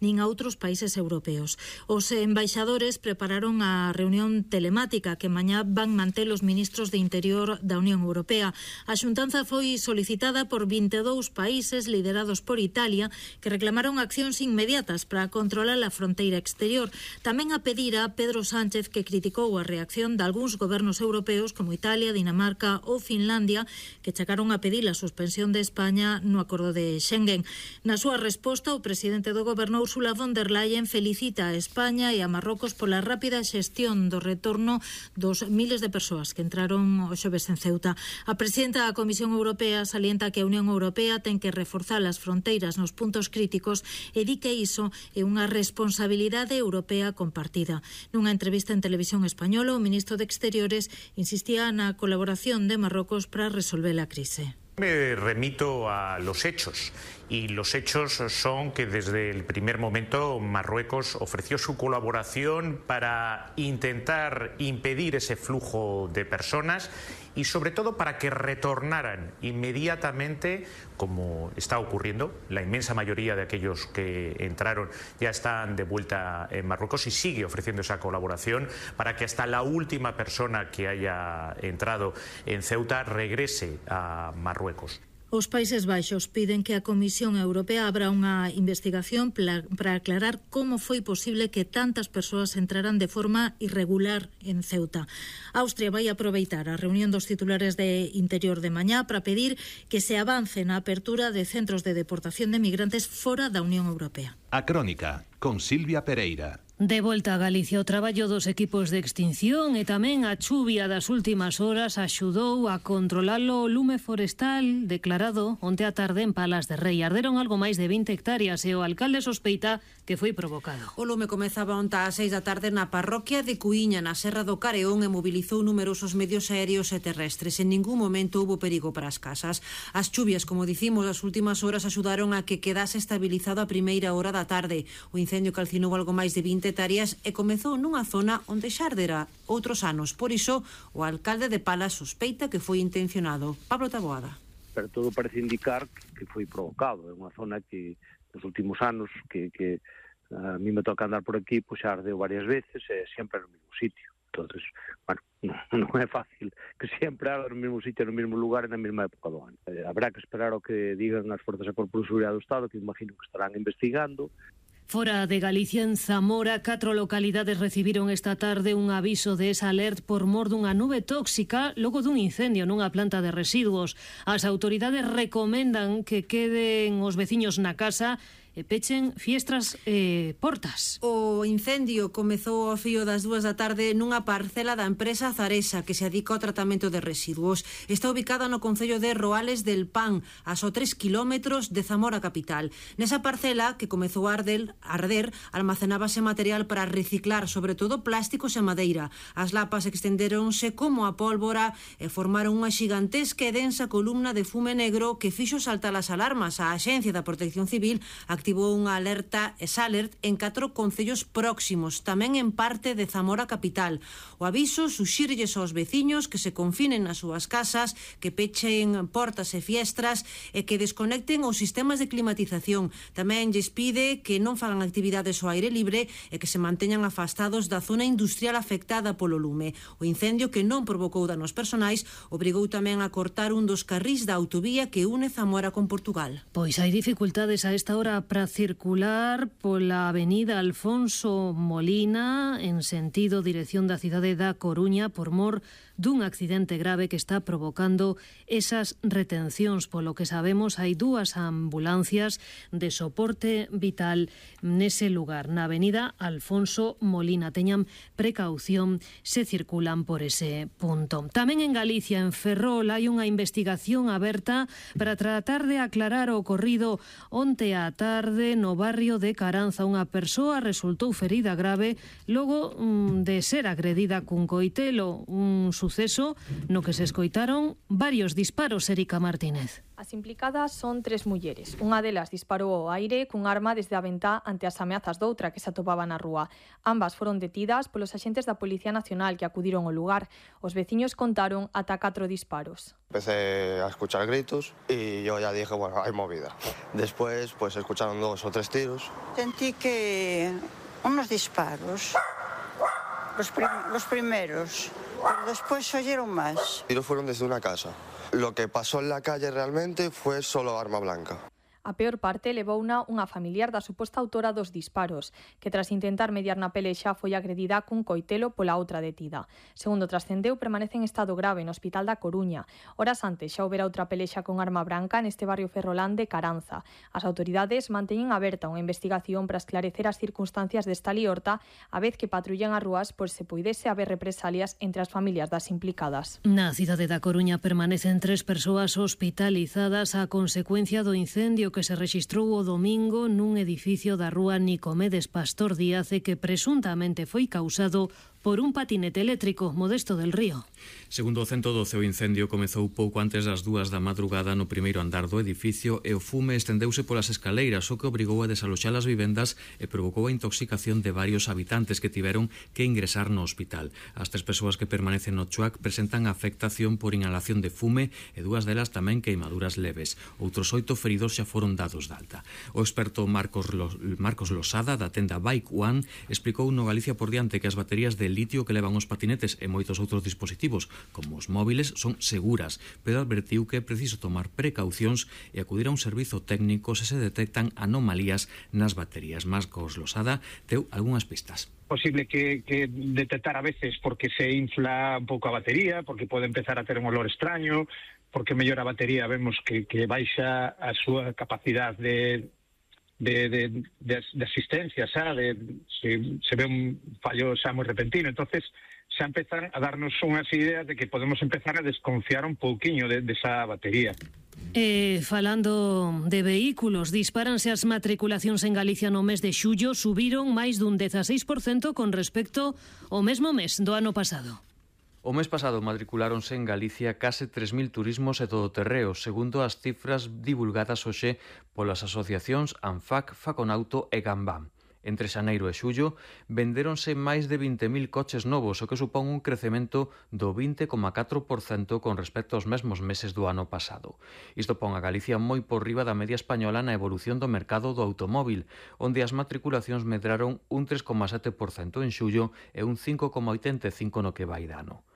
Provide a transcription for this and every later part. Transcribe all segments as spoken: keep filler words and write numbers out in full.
nin a outros países europeos. Os embaixadores prepararon a reunión telemática que mañá van manter os ministros de Interior da Unión Europea. A xuntanza foi solicitada por vinte e dous países liderados por Italia que reclamaron accións inmediatas para controlar a fronteira exterior. Tamén a pedir a Pedro Sánchez, que criticou a reacción de algúns gobernos europeos como Italia, Dinamarca ou Finlandia, que chegaron a pedir a suspensión de España no acordo de Schengen. Na súa resposta, o presidente do Goberno Ursula von der Leyen felicita a España e a Marrocos pola rápida xestión do retorno dos miles de persoas que entraron o xoves en Ceuta. A presidenta da Comisión Europea salienta que a Unión Europea ten que reforzar as fronteiras nos puntos críticos e di que iso é unha responsabilidade europea compartida. Nunha entrevista en Televisión Española, o ministro de Exteriores insistía na colaboración de Marrocos para resolver a crise. Me remito a los hechos y los hechos son que desde el primer momento Marruecos ofreció su colaboración para intentar impedir ese flujo de personas y sobre todo para que retornaran inmediatamente, como está ocurriendo. La inmensa mayoría de aquellos que entraron ya están de vuelta en Marruecos y sigue ofreciendo esa colaboración para que hasta la última persona que haya entrado en Ceuta regrese a Marruecos. Os Países Baixos piden que a Comisión Europea abra unha investigación para aclarar como foi posible que tantas persoas entraran de forma irregular en Ceuta. Austria vai aproveitar a reunión dos titulares de Interior de mañá para pedir que se avance na apertura de centros de deportación de migrantes fora da Unión Europea. A Crónica, con Silvia Pereira. De volta a Galicia, o traballo dos equipos de extinción e tamén a chuvia das últimas horas axudou a controlar o lume forestal declarado onte á tarde en Palas de Rei. Arderon algo máis de vinte hectáreas e o alcalde sospeita que foi provocado. O lume comezaba onte ás seis da tarde na parroquia de Cuíña, na Serra do Careón, e mobilizou numerosos medios aéreos e terrestres. En ningún momento houbo perigo para as casas. As chuvias, como dicimos, as últimas horas axudaron a que quedase estabilizado a primeira hora da tarde. O incendio calcinou algo máis de vinte hectáreas e comezou nunha zona onde xa ardera outros anos. Por iso, o alcalde de Palas sospeita que foi intencionado. Pablo Taboada. Pero todo parece indicar que foi provocado. É unha zona que nos últimos anos que, que a mí me toca andar por aquí, pois xa ardeu varias veces e sempre no mesmo sitio. Entonces, bueno, non, non é fácil que sempre arde no mesmo sitio, no mesmo lugar e na mesma época do ano. Eh, habrá que esperar o que digan as forzas de Corpo de Seguridade do Estado, que imagino que estarán investigando. Fora de Galicia, en Zamora, catro localidades recibiron esta tarde un aviso de esa alert por mor dunha nube tóxica logo dun incendio nunha planta de residuos. As autoridades recomendan que queden os veciños na casa e pechen fiestras e portas. O incendio comezou ao fío das dúas da tarde nunha parcela da empresa Zaresa que se dedica ao tratamento de residuos. Está ubicada no concello de Roales del Pan, a só tres kilómetros de Zamora capital. Nesa parcela, que comezou a arder, a arder, almacenábase material para reciclar, sobre todo plásticos e madeira. As lapas extendéronse como a pólvora e formaron unha xigantesca e densa columna de fume negro que fixo saltar as alarmas. A Axencia da Protección Civil activou unha alerta ESALERT en catro concellos próximos, tamén en parte de Zamora capital. O aviso suxírelles aos veciños que se confinen nas súas casas, que pechen portas e fiestras e que desconecten os sistemas de climatización. Tamén lles pide que non fagan actividades ao aire libre e que se manteñan afastados da zona industrial afectada polo lume. O incendio, que non provocou danos personais, obrigou tamén a cortar un dos carrís da autovía que une Zamora con Portugal. Pois hai dificultades a esta hora para circular pola avenida Alfonso Molina en sentido dirección da cidade da Coruña por mor dun accidente grave que está provocando esas retencións. Polo que sabemos, hai dúas ambulancias de soporte vital nese lugar, na avenida Alfonso Molina. Teñan precaución se circulan por ese punto. Tamén en Galicia, en Ferrol, hai unha investigación aberta para tratar de aclarar o ocorrido onte á tarde no barrio de Caranza. Unha persoa resultou ferida grave logo mm, de ser agredida cun coitelo, un suceso no que se escoitaron varios disparos. Erika Martínez. As implicadas son tres mulleres. Unha delas disparou ao aire cun arma desde a ventá ante as ameazas doutra que se atopaba na rúa. Ambas foron detidas polos axentes da Policía Nacional que acudiron ao lugar. Os veciños contaron ata catro disparos. Empecé a escuchar gritos y yo ya dije, bueno, hay movida. Después, pues escucharon dos o tres tiros. Sentí que unos disparos, los, prim los primeros, pero después se oyeron más. Los tiros fueron desde una casa. Lo que pasó en la calle realmente fue solo arma blanca. A peor parte levouna unha familiar da suposta autora dos disparos, que tras intentar mediar na pelexa foi agredida cun coitelo pola outra detida. Segundo trascendeu, permanece en estado grave no Hospital da Coruña. Horas antes xa houbera outra pelexa con arma branca neste barrio ferrolán de Caranza. As autoridades manteñen aberta unha investigación para esclarecer as circunstancias desta liorta, a vez que patrullan as rúas por se puidese haber represalias entre as familias das implicadas. Na cidade da Coruña permanecen tres persoas hospitalizadas a consecuencia do incendio que se rexistrou o domingo nun edificio da rúa Nicomedes Pastor Díaz e que presuntamente foi causado por un patinete eléctrico. Modesto del Río. Segundo o ciento doce, o incendio comezou pouco antes das dúas da madrugada no primeiro andar do edificio e o fume estendeuse polas escaleiras, o que obrigou a desaloxar as vivendas e provocou a intoxicación de varios habitantes que tiveron que ingresar no hospital. As tres persoas que permanecen no Chuac presentan afectación por inhalación de fume e dúas delas tamén queimaduras leves. Outros oito feridos xa foron dados de alta. O experto Marcos, Lo, Marcos Losada, da tenda Bike One, explicou no Galicia por diante que as baterías de litio que levan os patinetes e moitos outros dispositivos, como os móviles, son seguras, pero advertiu que é preciso tomar precaucións e acudir a un servizo técnico se se detectan anomalías nas baterías. Marcos Losada deu algunhas pistas. Posible que, que detectar a veces porque se infla un pouco a batería, porque pode empezar a ter un olor extraño, porque mellor a batería vemos que, que baixa a súa capacidade de De, de, de, de asistencia, xa, de, se, se ve un fallo xa moi repentino, entonces xa empezan a darnos unhas ideas de que podemos empezar a desconfiar un pouquiño de, de esa batería. E falando de vehículos, dispáranse as matriculacións en Galicia no mes de xullo, subiron máis dun dezaseis por cento con respecto ao mesmo mes do ano pasado. O mes pasado matriculáronse en Galicia case tres mil turismos e todoterreos, segundo as cifras divulgadas hoxe polas asociacións ANFAC, Faconauto e Gambam. Entre xaneiro e xullo vendéronse máis de vinte mil coches novos, o que supón un crecemento do vinte coma catro por cento con respecto aos mesmos meses do ano pasado. Isto pon a Galicia moi por riba da media española na evolución do mercado do automóvil, onde as matriculacións medraron un tres coma sete por cento en xullo e un cinco coma oitenta e cinco por cento no que vai de ano.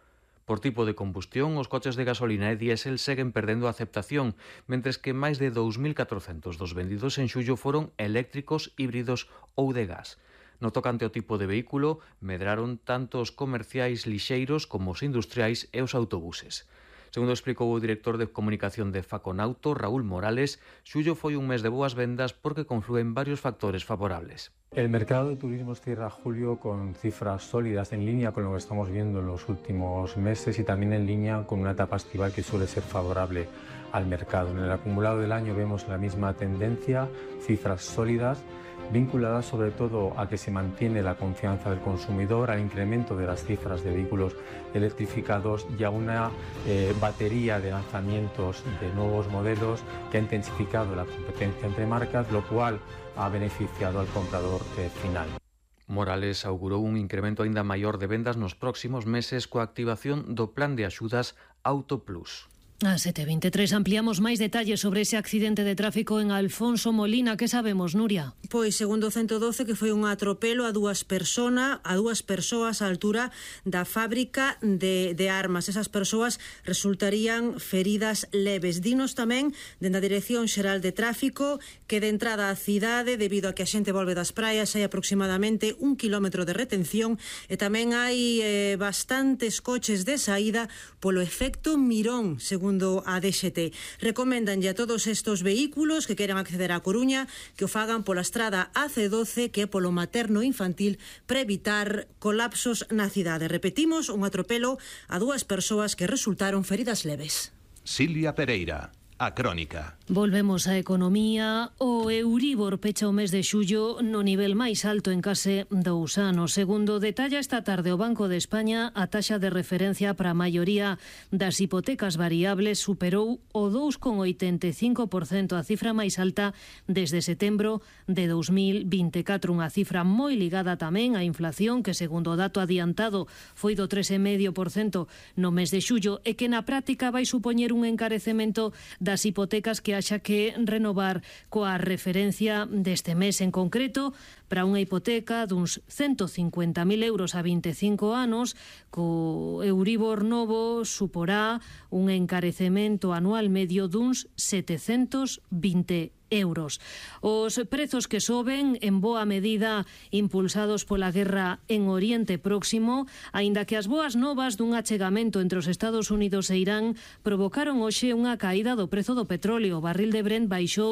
Por tipo de combustión, os coches de gasolina e diésel seguen perdendo a aceptación, mentres que máis de dous mil catrocentos dos vendidos en xullo foron eléctricos, híbridos ou de gas. No tocante ao tipo de vehículo, medraron tanto os comerciais lixeiros como os industriais e os autobuses. Segundo explicou o director de comunicación de Faconauto, Raúl Morales, xullo foi un mes de boas vendas porque conflúen varios factores favorables. El mercado de turismo cierra julio con cifras sólidas en línea con lo que estamos viendo en los últimos meses y también en línea con una etapa estival que suele ser favorable al mercado. En el acumulado del año vemos la misma tendencia, cifras sólidas, vinculadas sobre todo a que se mantiene la confianza del consumidor, al incremento de las cifras de vehículos electrificados y a una eh, batería de lanzamientos de nuevos modelos que ha intensificado la competencia entre marcas, lo cual ha beneficiado al comprador eh, final. Morales augurou un incremento aínda maior de vendas nos próximos meses coa activación do plan de axudas Auto Plus. A sete e veintitrés ampliamos máis detalles sobre ese accidente de tráfico en Alfonso Molina. Que sabemos, Nuria? Pois, segundo o ciento doce, que foi un atropelo a dúas persona, a dúas persoas á altura da fábrica de, de armas. Esas persoas resultarían feridas leves. Dinos tamén, dende a Dirección Xeral de Tráfico, que de entrada á cidade, debido a que a xente volve das praias, hai aproximadamente un kilómetro de retención e tamén hai eh, bastantes coches de saída polo efecto mirón, segundo Segundo a D X T. Recoméndanlle a todos estes vehículos que queran acceder á Coruña que o fagan pola estrada A C doce, que é polo materno infantil, para evitar colapsos na cidade. Repetimos, un atropelo a dúas persoas que resultaron feridas leves. Silvia Pereira. A Crónica. Volvemos á economía. O Euribor pecha o mes de xullo no nivel máis alto en case dous anos. Segundo detalla esta tarde o Banco de España, a taxa de referencia para a maioría das hipotecas variables superou o dous coma oitenta e cinco por cento, a cifra máis alta desde setembro de dous mil vinte e catro, unha cifra moi ligada tamén á inflación, que segundo o dato adiantado foi do tres coma cinco por cento no mes de xullo, e que na práctica vai supoñer un encarecemento das hipotecas que haxa que renovar coa referencia deste mes en concreto. Para unha hipoteca duns ciento cincuenta mil euros a vinte e cinco anos, co Euribor novo suporá un encarecemento anual medio duns setecentos vinte euros. Os prezos que soben en boa medida impulsados pola guerra en Oriente Próximo, aínda que as boas novas dun achegamento entre os Estados Unidos e Irán provocaron hoxe unha caída do prezo do petróleo. O barril de Brent baixou